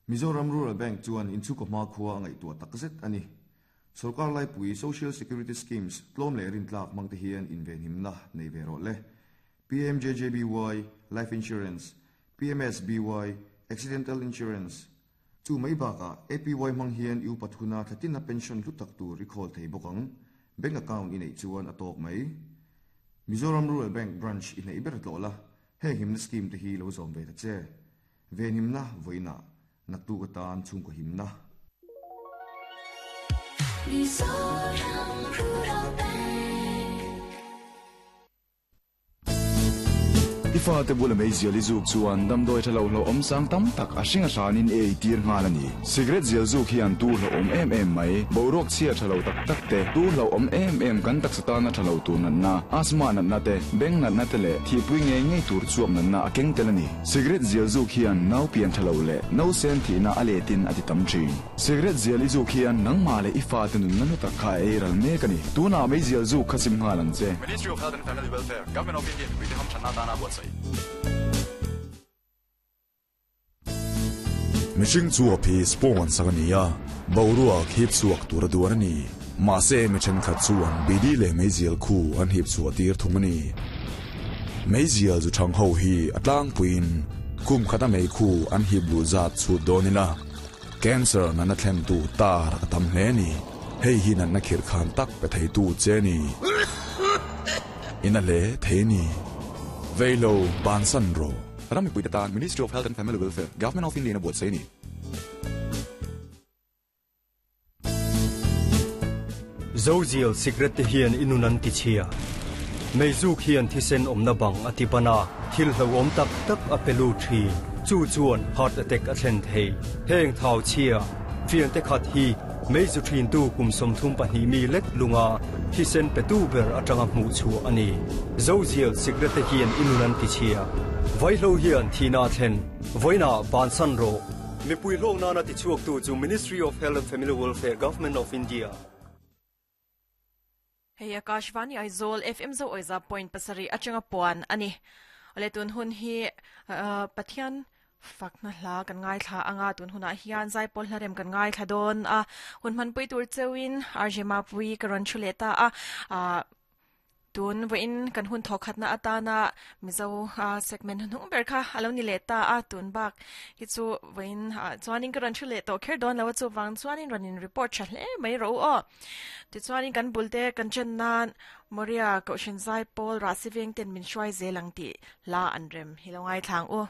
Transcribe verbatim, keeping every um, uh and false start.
Mizoram Rural Bank chuan inchhungkaw hmakhua a ngaihtuah takzet a ni. Sorkar laipui Social Security Schemes tlawm leh rintlak hmangte hian invenhimna nei ve rawh le. P M J J B Y Life Insurance, P M S B Y Accidental Insurance, chu mai bakah A P Y hmang hian i upat huna thlatina pension hlu tak tur i khawl thei bawk ang. Bank account i neih chuan a tawk mai. Mizoram Rural Bank branch i hnaih ber tlawh la, heng himna scheme te hi lo zawm ve ta che. Venhimna vawiinah, naktuk atan chhungkaw himna. Mizoram Rural Bank. I fate bula meizial i zuk chuan damdawi thalo hlo awm sang tam tak a hring a hranin e ei tir nghal ani. Cigarette zial zuk hian tu hlo awm em em mai, boruak chhia thalo tak tak te, tu hlo awm em em kan taksa tana thalo tur natna, asthma natna te, beng natna te leh thihpui ngei ngei tur chuap natna a keng tel ani. Cigarette zial zuk hian nau pian thalo leh no sen thihna a letin a ti tam thin. Cigarette zial i zuk hian nangmah leh i fate nunna nu tak kha ei ral mek ani. Tunah meizial zuk kha sim nghal ang che. Ministry of Health and Family Welfare, Government of India, mipui te hamthanna atana buatsaih. Mihring chuap hi spawn sak ani a, boruak hip chhuak tur a duan ani. Mahse mi thenkhat chuan bidi leh meizial khu an hip chhuah tir thung ani. Meizial zu thang ho hi a tlangpuiin kum khata mei khu an hip lu zat chhut dawn ila, cancer natna thlen tu tar a tam hle ni. Hei hi natna khirh khan tak pe thei tu che ni. Ina le thei ni. Veilo bansan ro. Ram mipui te tan Ministry of Health and Family Welfare, Government of India na buatsaih ni. Zozial cigarette te hian inun an ti chhia. Meizuk hian thisen awmna bang a ti bana, thil hlo awm tak tak a pelu thin. Chu chuan heart attack a thlen thei. Heng thau chhia fian te khat hi meizu thin tu kum sawmthum pahnih mi lek lunga thisen pe tu ber atanga hmuh chu ani. Zozial cigarette te hian inun an ti chhia. Vaihlo hian thina thlen. Voina bansan ro. Mipui hlawk nana ti chuak tu chu Ministry of Health and Family Welfare, Government of India. Hei Akashvani Aizawl F M zo oiza point pasarih atanga puan ani. Ole, tun hun hi uh, Pathian fakna hla kan ngai thla anga, tun huna hian zaipawl hlarem kan ngai thla dawn a, hun man pui tur chewin R J Mapui ka ron thule ta a. uh, tun voin kan hun thokhat na atana Mizo segment hunung ber kha alo ni le ta a. Tun bak hi chu voin chuanin ka ron thule to kher don lo chu wang chuanin ronin report tha hle mai ro o. Ti chuanin kan bulte kan chen nan Moria ko shin zai pawl Rasiveng ten min hruai zelang ti la an rem hi lo ngai thlang u.